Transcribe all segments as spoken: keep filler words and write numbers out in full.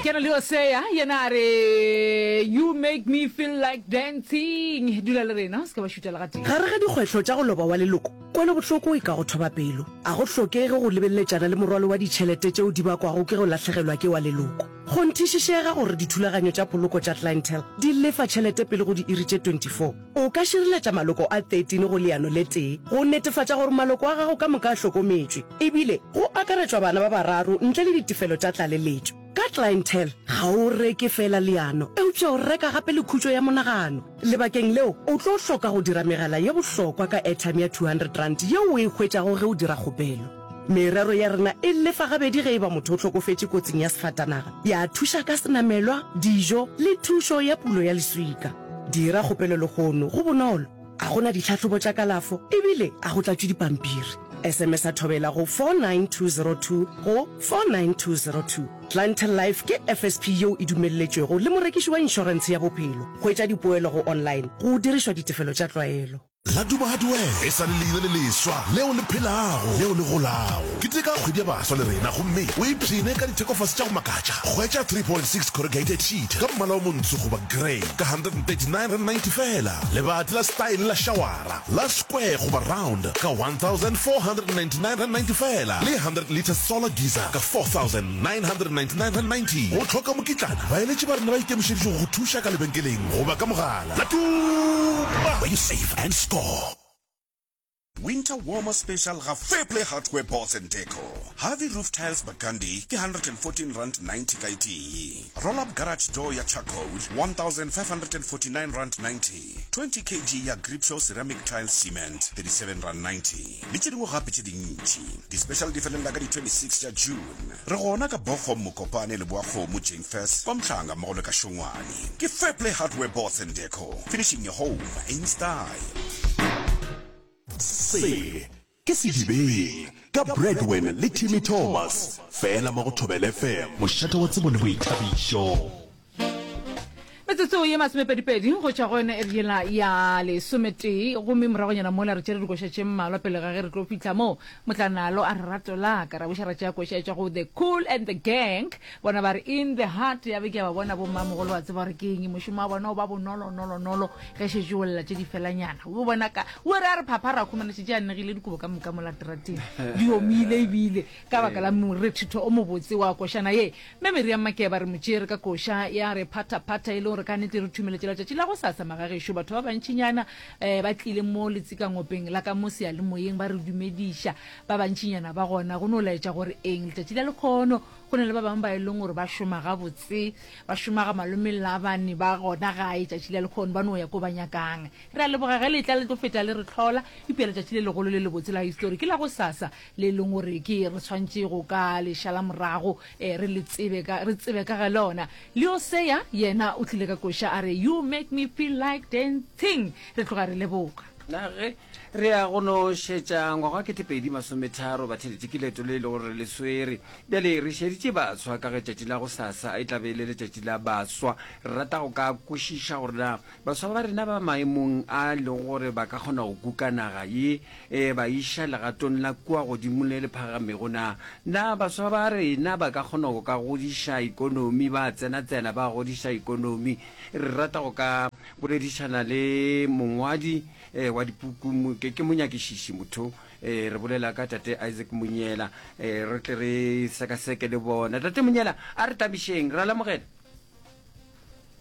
Ke na le Hosea, yena a re, You make me feel like dancing. Dula le rena, o se ke wa šuta le gatee. Gare ga dikgwehlo tša go loba wa leloko, kwelobohloko e ka go thoba pelo. A go hlokege go lebeleletšana le morwalo wa ditšhelete tšeo di bakwago ke go lahlegelwa ke wa leloko. Kgonthišišega gore dithulaganyo tša poloko tša Clientele di lefa tšhelete pele go diiri tše twenty four O ka šireletša maloko a thirteen go leano le tee go netefatša gore maloko a gago ka moka a hlokometšwe, ebile go akaretšwa bana ba bararo ntle le ditefelo tša tlaleletšo. Ka Clientele, ga o reke feela leano, eupša o reka gape le khutšo ya monagano. Lebakeng leo, o tlo hloka go dira megala ye bohlokwa ka airtime ya two hundred rand yeo o e hwetšago ge o dira kgopelo. Merero ya rena e lefa gabedi ge e ba motho o hlokofetše kotsing ya sefatanaga, ya thuša ka senamelwa, dijo le thušo ya pulo ya leswika. Dira kgopelo lehono, go bonolo, a go na ditlhahlobo tša kalafo ebile a go tlatšwe dipampiri. S M S a Thobela go four nine two zero two go four nine two zero two. Clientele Life ke F S P yeo e dumelletšwego le morekiši wa inšorentshe ya bophelo. Hwetša dipoelo go online go dirišwa ditefelo tša tlwaelo. Laduma Hardware e sa le leina le leswa leo le phelago leo le golago. Keteka kgwedi ya baswa le rena gomme o ipshine ka dithekofase tša go makatša. Hwetša three point six corrugated sheet ka mmala o montsho goba grey ka hundred and thirty nine rand ninety feela. Lebati la style la shawara la square goba round ka one thousand four hundred and ninety nine rand ninety feela le hundred litre solar geyser ka four thousand nine hundred and ninety nine rand ninety. O hloka mokitlana? Baeletši ba rena ba ikemišeditše go go thuša ka lebenkeleng goba ka mogala. Laduma, where you save and score. Winter Warmer Special ga Fairplay Hardware Boards and Deco. Harvey Roof Tiles Burgundy ke hundred and fourteen rand ninety ka e tee. Roll Up Garage Door ya Charcoal one thousand five hundred and forty nine rand ninety. twenty kg ya Gripshow Ceramic Tiles Cement thirty seven rand ninety. Le tše dingwe gape tše dintši. Di-special di felela ka di twenty six tša June. Re gona ka Bochum, Mokopane, Leboakgomo, Jane Furse, kwa Mhlanga mmogo le ka Šongwane. Ke Fairplay Hardware Boards and Deco, finishing your home in style. Se ke Sedibeng ka Bradwin le Timmy Thomas, fela mo go Thobela F M, mošate wa tsebo le boithabišo. Metsotso ye masomepedipedi go tšwa go yona iri yela ya lesometee, gomme moragonyana mola re tšere dikoša tše mmalwa pele ga ge re tlo fihla mo motlanalo a re rato la ka ra buša ra tšea koša e tšwa go The Cool and the Gang, bona ba re In the Heart. Ya be ke a ba bona bommamogolo ba tseba gore ke eng mošomo wa bona o ba bonolonolonolo ge šetše o lla tše di felanyana o bona ka o re a re phapha ra khumana šetše a negile dikobo ka moka mo latrateng di omile ebile ka baka la morethetho o mobotse wa košana ye. Mme Miriam Makeba re mo tšere ka koša ya re Phathaphatha e le gore ka nnete re thumeletše letšatši la go sasa magagešo. Batho ba bantšinyana um ba tlile mo letsikangopeng la ka mo seyalemoyeng ba re dumediša, ba bantšinyana ba gona go no laetša gore eng letšatši la lekgono go na le ba bangwe ba e leng gore ba šoma gabotse, ba šoma ga malome Labane ba gona gae tšatši la lekgono ba no ya ko ba nyakang. Re a leboga ge le tla le tlo feta le re hlola, eupša letšatši le legolo le lebotse la histori ke la go sasa le e leng gore ke re tshwantše go ka le šala morago eh, re le tsebe ka re tsebe ka ga lona. Leo Seya yena o tlile ka koša a re You make me feel like dancing. Re tloga re leboga. Na ge re ya go no šetša ngwaga wa ketepedi masometharo batheletši ke leeto le e le gore re le swere. Bjale re šeditše baswa ka ge tšatši la gosasa e tla be e le letšatši la baswa. Re rata go ka kwešiša gore na baswa ba rena ba maemong a e lego gore ba ka kgona go kuka naga ye e ba iša legatong la kua godimo le le phagamego na. Na baswa ba rena ba ka kgona go ka godiša ikonomi, ba tsena-tsena ba godiša ikonomi? Re rata go ka boledišana le mongwadi wa dipuku, ke, ke monyakišiši motho, re bolela ka Tate Isaac Monyela, re tle re sekaseke le bona. Tate Monyela, a re tamišeng, ra lamogela.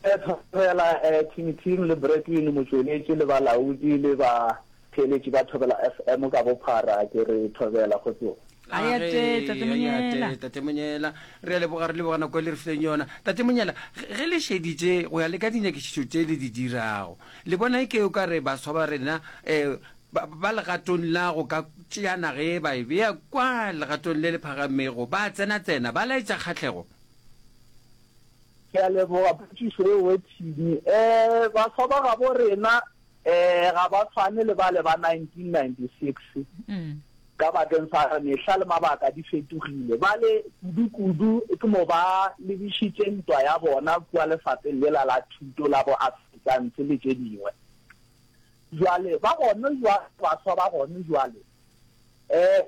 Thobela Team Team le Bradwin motšweletši le balaodi le batheeletši ba Thobela F M ka bophara ke re thobela kgotsong. A ya te, Tate Monyela. Tate Monyela, re a leboga, re leboga nako e le re fileng yona. Tate Monyela, ge le šeditše go ya le ka dinyakišišo tše le di dirago, le bona e ke o ka re baswa ba rena um ba legatong la go ka tšea naga ye ba e bea kwa legatong le le phagamego, ba tsena-tsena, ba laetša kgahlego? Ke a leboga potšišo eo we Thini. Um baswa ba gabo rena um ga ba tshwane le bale ba nineteen ninety six ka bakeng sa gore mehla le mabaka di fetogile. Bale kudu-kudu ke mo ba lebišitše ntwa ya bona kua lefapheng lela la thuto la bo Afrikaans le tše dingwe. Jwale ba gone jwale, baswa ba gone jwale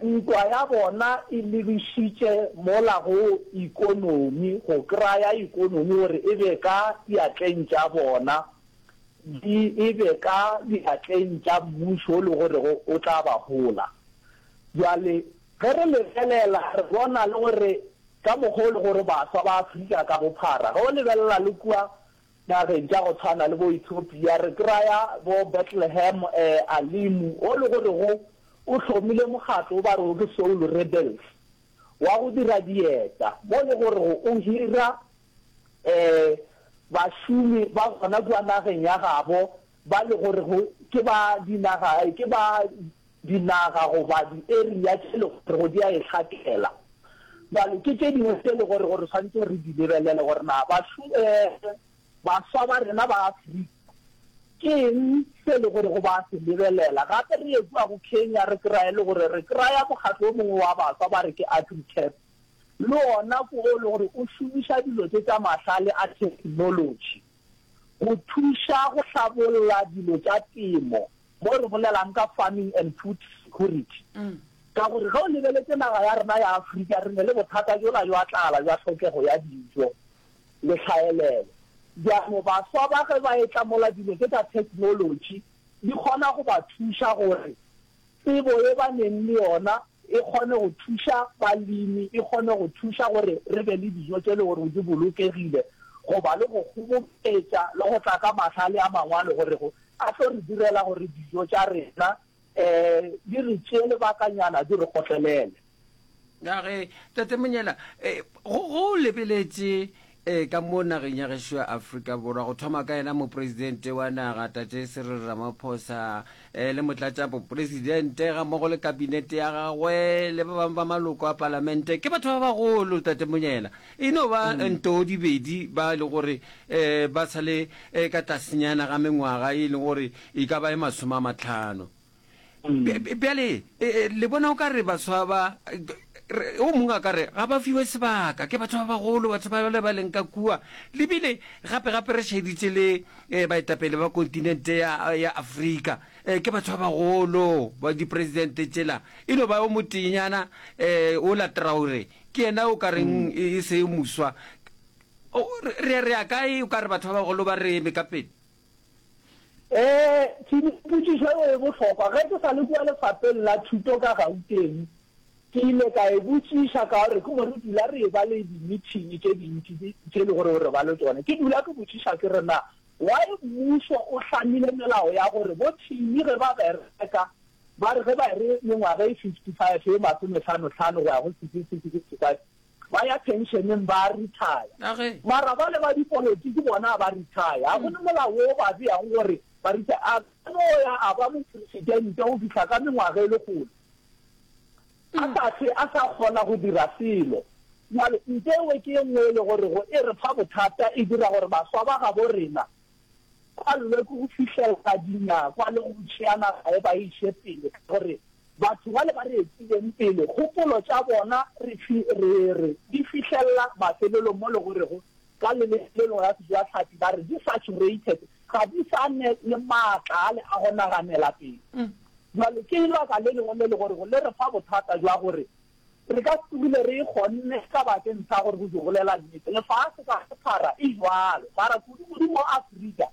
Ntwa ya bona e lebišitše mola go ikonomi, go kraya ikonomi gore e be ka diatleng tša bona, di e be ka diatleng tša mmušo o le gorego o tla ba hola. Bjale ge re lebelela re bona le gore ka mokgwa o le gore baswa ba Afrika ka bophara, ge o lebelela le kua nageng tša go tshwana le bo Ethiopia, re kraya bo Bethlehem Alimu o le gorego o hlomile mokgatlo o ba rego ke Soul Rebels wa go dira dieta, mo le gorego o hira bašomi ba gona kua nageng ya gabo ba le gorego ke ba dinaga, ke ba dinaga goba di-area tše le gorego di a e hlakela. Bjale ke tše dingwe tše le gorego re swanetše re di lebelele gore na baswa ba rena ba Afrika Ke eng se e le gorego ba se lebelela? Gape re ye kua go Kenya re kraye le gore re kraya mokgatlo o mongwe wa baswa ba re ke AgriCap. Le wona ke o le gore o šomiša dilo tše tša mahlale a theknolotši go thuša go hlabolla dilo tša temo, mo re bolelang ka farming and food security. Ka gore ge o lebeletše naga ya rena ya Afrika re ne le bothata bjola bja tlala bja hlokego ya dijo le tlhaelelo. Bjalo baswa ba ge ba etla mola dilo tše tša theknolotši di kgona go ba thuša gore tsebo ye ba neng le yona e kgone go thuša balemi, e kgone go thuša gore re be le dijo tše le gore di bolokegile goba le go kgoboketša le go tla ka mahlale a mangwe a le gorego a tlo re direla gore dijo tša rena um di re tšee lebakanyana di re kgotlelele. Ya ge, Tate Monyela, eh, go, go lebeletše eh, ka mo nageng ya gešo ya Afrika Borwa, go thoma ka yena mopresidente wa naga Tate Cyril Ramaphosa eh, le motlatšapopresidente gammogo le kabinete ya gagwe le ba bangwe ba maloko a palamente, ke batho ba bagolo Tate Monyela. E no ba mm. ntoo dibedi ba e le gore eh, ba sa le eh, ka tlasenyana ga mengwaga e leng gore e ka ba e masome a matlhano. Bjale, le bona o ka re baswa ba, o mongwe a ka re ga ba fiwe sebaka ke batho ba bagolo, batho ba bale ba leng ka kua. Le bile gape-gape re šeditše le baetapele ba kontinente ya, ya Afrika, ke batho ba bagolo, ba dipresidente tšela. E no ba o moteenyana, ola Traore, ke yena o ka reng e se moswa. Re, re ya kae o ka re batho ba bagolo ba re eme ka pele? Ee, potšišo yeo e bohlokwa. Ge ke sa le kua lefapheng la thuto ka Gauteng, ke ile ka e botšiša ka gore ke mo re dula re eba le di-meeting tše dintši tše e le gore re ba le tšona. Ke dula ke botšiša ke re, Na why mmušo o hlamile melao ya gore bo Thimi ge ba bereka ba re ge ba ere mengwaga e fifty-five e masomehlano-hlano go ya go sixty-five ba ya pensioneng ba retire. Mara bale ba dipolotiki bona a ba retire. Ga go ne molao wo o ba beago gore ba retire. A ka no ya a ba mopresidente go fihla ka mengwaga e lekgolo a sa hlwe a sa kgona go dira selo. Bjale nto ewe ke e nngwe e le gorego e re fa bothata, e dira gore baswa ba gabo rena ba llwe ke go fihlelela dinyakwa le go tšea naga e ba e iše pele ka gore Batho bale ba re etileng pele, kgopolo tša bona re, re, re di fihlelela mafelelong mo le gorego ka leleme le lengwe la Sejatlhapi ba re di saturated, ga di sa ne le maatla ale a go naganela pele. Bjale ke lebaka le lengwe le le gorego le re fa bothata bja gore re ka se tsogile re e kgonne ka bakeng sa gore go di bolela nnete. Lefase ka bophara e bjalo, mara kudu-kudu mo Afrika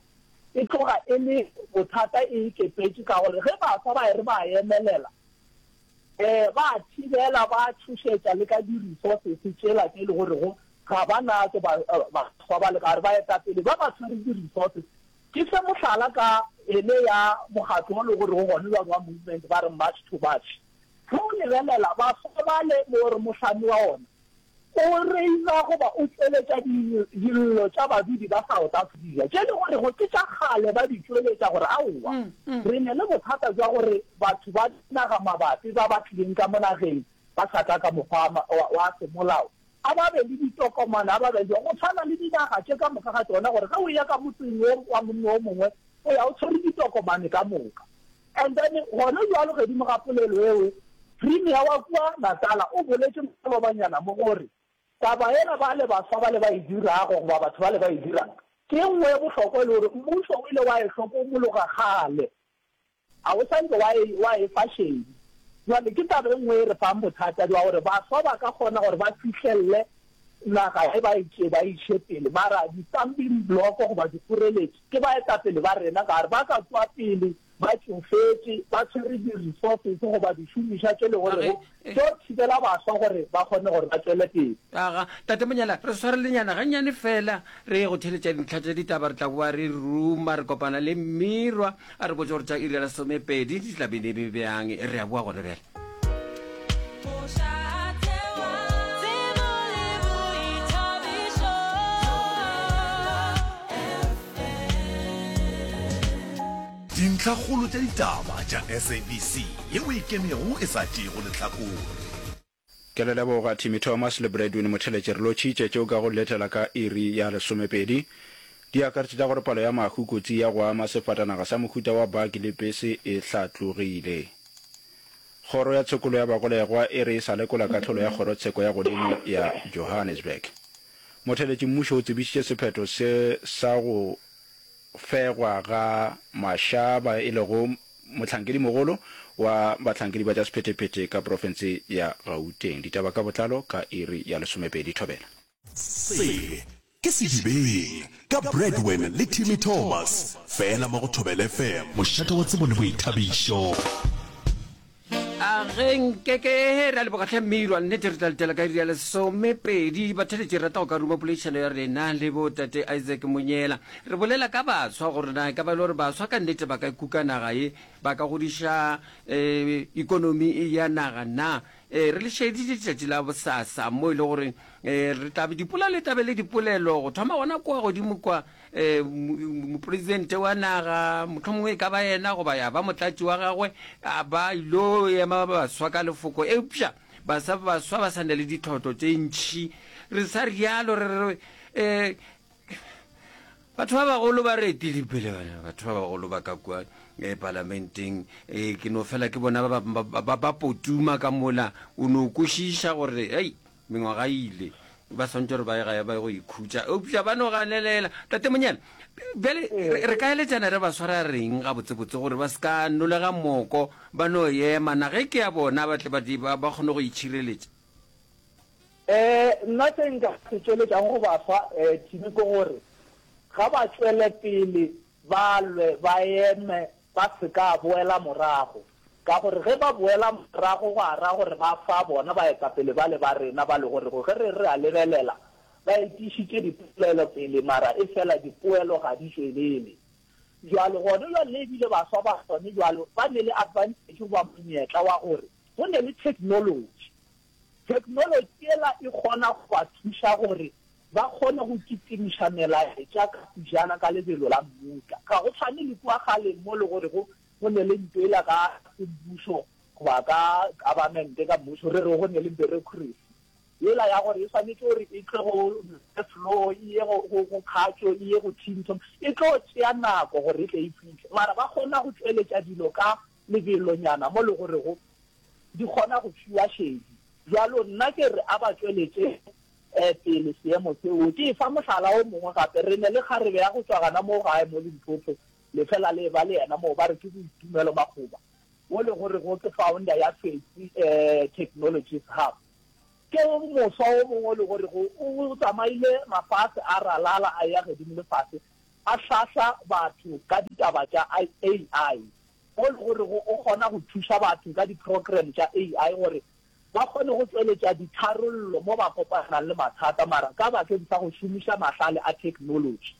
E tloga e le bothata e ikepetše ka gore ge baswa ba e re ba emelela, um ba a thibela, ba tšhošetša le ka di-resources tšela tše e le gorego ga ba natšo baswa ba le ka gare. Baetapele ba ba tshwere di-resources. Ke fe mohlala ka ele ya mokgatlo o le gorego gone bjalo wa movement ba re March to March. Ge o lebelela baswa bale mo re mohlami wa ona O reila goba o tšweletša dillo tša badudi ba South Africa tše le gorego ke tša kgale ba di tšweletša gore aowa re ne le bothata bja gore batho ba dinaga mabapi ba ba tlileng ka mo nageng ba sa tla ka mokgwa wa semolao a ba be le ditokomane a ba be go tshwana le dinaga tše ka moka ga tšona gore ge o eya ka motseng wo wa monna o mongwe o ya o tshwere ditokomane ka moka. And then gona bjalo gedimo ga polelo eo, Premier wa kua Natala o boletše malobanyana mo gore taba yela bale baswa bale ba e dirago goba batho bale ba e dirang ke e nngwe e bohlokwa e le gore mmušo o ile wa e hlokomologa kgale, ga o sa nke wa e, wa e fa šedi. Jwale ke taba e nngwe e re fang bothata bja gore baswa ba ka kgona gore ba fihlelle naga e ba e tšee ba e iše pele, mara di-stumbling block goba dikgoreletši ke baetapele ba rena ka gore ba ka tšwa pele ba tšofetše, ba tshwere di-resources goba dišomišwa tše le gorego tšo thibela baswa gore ba kgone gore ba tšwele pele. Aga, Tate Monyela, re swarelenyana gannyane fela re ye go theeletša dintlha tša ditaba, re tla boa re ruma, re kopana le Mmirwa a re botše gore tša iri ya lesomepedi di tla be di be bjang. Re a boa gona bjale. Dintlhakgolo tša ditaba tša SABC yeo e ikemego e sa tšeego lehlakore. Ke le leboga Timmy Thomas le Bradwin Motheletše re lotšhitše tšeo ka go letela ka iri ya lesomepedi. Di akaretša tša gore palo ya mahu kotsi ya go ama sefatanaga sa mohuta wa baki le pese e hlatlogile. Kgoro ya Tshokolo ya Bagolegwa e re e sa lekola kahlolo ya Kgorotsheko ya Godimo ya Johannesburg. Motheletši mmušo o tsebišitše sephetho se sa go fegwa ga Mashaba e lego mohlankedimogolo wa bahlankedi ba tša sephethephethe ka profense ya Gauteng. Ditaba ka botlalo ka iri ya lesomepedi. Thobela. Se ke Sedibeng ka Bradwin le Timmy Thomas, fela mo go Thobela F M, mošate wa tsebo le boithabišo. A ge nkeke ra leboga hle Mmirwa, nnete re tla letela ka iri ya lesomepedi. Batheeletši, re rata go ka ruma poledišano ya rena le bo tate Isaac Monyela. Re bolela ka baswa gore na e ka ba e le gore baswa ka nnete ba ka kuka naga ye, ba ka godiša um ikonomi ya naga na. Um re le šeditše letšatši la bosasa mo e le gore um re tla be dipola le tla be le dipolelo go thoma gona kua godimo kua Mopresidente wa naga, mohlomongwe e ka ba yena goba ya ba motlatši wa gagwe, a ba ilo ema baswa ka lefoko. Eupša basa, baswa ba sa na le ditlhotlo tše ntši. Re sa rialo re re, um batho ba bagolo ba re etile pele, bana, batho ba bagolo ba ka kua eh, palamenteng. Eh, ke no fela ke bona ba, ba, ba, ba, ba potuma ka mola, o no kwešiša gore, hei, Mengwaga e ile, ba swanetše gore ba ye gae ba ye go ikhutša, eupša ba no ganelela. Tate Monyane, bjale re, re ka eletšana re ba swara reng gabotsebotse gore ba se ka nolega moko, ba no ema, na ge ke ya bona ba tle ba, ba, ba kgone go itšhireletša? Um nna se nka se tšweletšago go baswa um Timmy ke gore ga ba tšwele pele ba lwe, ba eme, ba se ka boela morago. Ka gore ge ba boela morago gwa ra gore ba fa bona baetapele bale ba rena ba le gorego ge re re a lebelela ba etišitše dipolelo pele mara efela dipoelo ga di tšwelele. Bjalo gone bjale le ebile baswa ba gone bjalo ba ne le advantage goba monyetla wa gore go ne le technology. Technology yela e kgona go ba thuša gore ba kgone go kitimiša melaetša ka pejana ka lebelo la mmutla. Ga go tshwane le kua kgaleng mo le gorego Go ne le nto yela ka semmušo goba ka government, ka mmušo, re re go ne le bureaucracy yela ya gore e swanetše gore e tle go floor, e ye go, go, go kgatšo, e ye go team, e tlo tšea nako gore e tle e fihle. Mara ba kgona go tšweletša dilo ka lebelonyana mo le gorego di kgona go fiwa šedi. Bjalo nna ke re a ba tšweletše pele seemo seo. Ke efa mohlala o mongwe gape, re ne le kgarebe ya go tšwa gana mo gae mo Limpopo, Le fela le eba le yena moo ba re ke Boitumelo Makgoba, wo le gorego ke founder ya Fetsi Technologies Hub. Ke moswa wo mongwe o le gorego o tsamaile mafase a ralala a eya gedimo le fase a hlahla batho ka ditaba tša A I, wo le gorego o kgona go thuša batho ka di-program tša A I gore ba kgone go tšweletša ditharollo mo ba kopanang le mathata mara ka bakeng sa go šomiša mahlale a technology.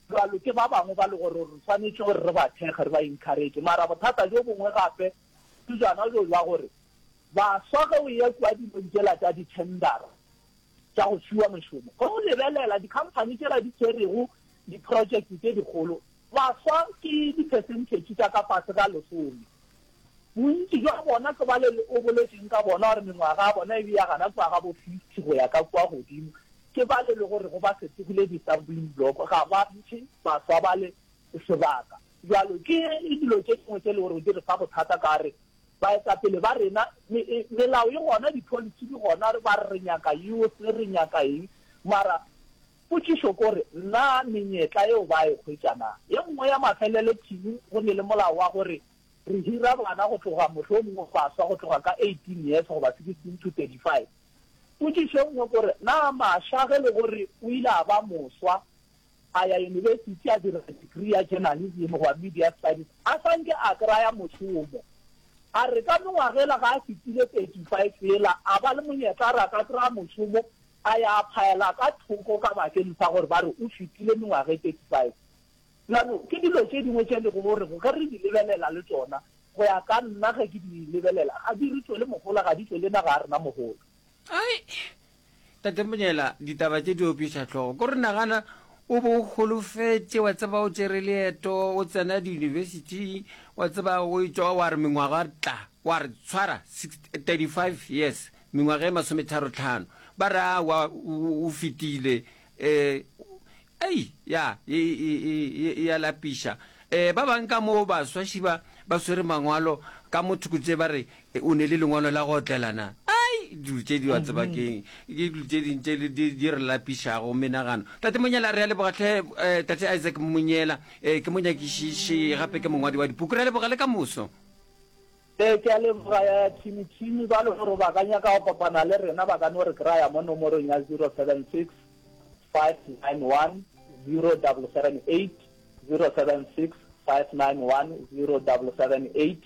Bjalo ke ba bangwe ba le gore re swanetše gore re ba thekge, re ba encourage. Mara bothata bjo bongwe gape ke bjona bjo bja gore baswa ge o eya kua dilong tšela tša di-tendera tša go fiwa mešomo, ge o lebelela di-company tšela di tshwerego di-project tše dikgolo, baswa ke di-percentage tša ka fase ga lesome. Bontši bja bona ke bale o boletšeng ka bona gore mengwaga ya bona e bea gana kua ga bo fifty go ya ka kua godimo, ke bale le gore go ba fetogile di-stumbling block, ga ba mphe baswa bale sebaka. Bjalo ke dilo tše dingwe tše le gore di re fa bothata ka re baetapele ba rena, melao e gona, di-policy di gona, ba re re nyaka youth, re nyaka eng, mara potšišo ke gore na menyetla yeo ba e hwetša na? Ye nngwe ya mafelelo, Tim, go ne le molao wa gore Re hira bana go tloga mohlomongwe baswa go tloga ka eighteen years goba sixteen to thirty five. Potšišo e nngwe ke gore, na Masha ge le gore o ile a ba moswa, a ya yunibesithi a dira degree ya journalism goba media studies, a sa nke a kraya mošomo? A re ka mengwaga yela ga a fetile thirty five yela a ba le monyetla a re a ka kraya mošomo, a ya a phaela ka thoko ka bakeng sa gore ba re o fetile mengwaga e thirty five. Bjalo, ke dilo tše dingwe tše lego gore ge re di lebelela le tšona, go ya ka nna ge ke di lebelela, ga di re tšwele mohola, ga di tšwele naga ya rena mohola. Ai, Tate Monyela, ditaba tše di opiša hlogo. Ko re nagana o be o holofetše, wa tseba o tšere leeto, o tsena diyunibesithi, wa tseba o etšwa wa re mengwaga tla, wa re tshwara thirty five years, mengwaga e masometharo tlhano. Ba re aowa o fetile. Eh, ei, ya, e, e, e, e a lapiša. Eh, ba bang ka mo baswa šiba ba swere mangwalo ka mo thoko tše ba re o ne le lengwalo la go otlela na? Ai, dilo tše di wa tseba keng, ke dilo tše ding tše di, di re lapišago menagano. Tate Monyela, re a leboga hle, eh, Tate Isaac Monyela, eh, ke monyakišiši gape ke mongwadi wa dipuku. Re a leboga le ka moso. Ee, ke a leboga ya Thimi Thimi. Ba le gore ba ka nyaka go kopana le rena ba ka no re kraya mo nomorong ya zero seven six five nine one zero double seven eight, zero seven six five nine one zero double seven eight.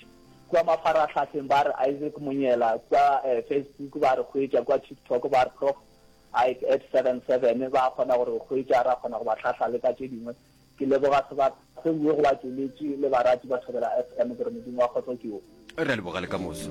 Kua mafarahlahleng ba re Isaac Monyela, kua Facebook ba re hwetša, kua TikTok ba re Prof Ike at seven seven, ba kgona go re hwetša, ra kgona go ba hlahla le ka tše dingwe. Ke leboga sebaka se bue go batšweletši le barati ba Thobela F M, ke re Modimo wa kgotso ke wo. Re a leboga le ka moso.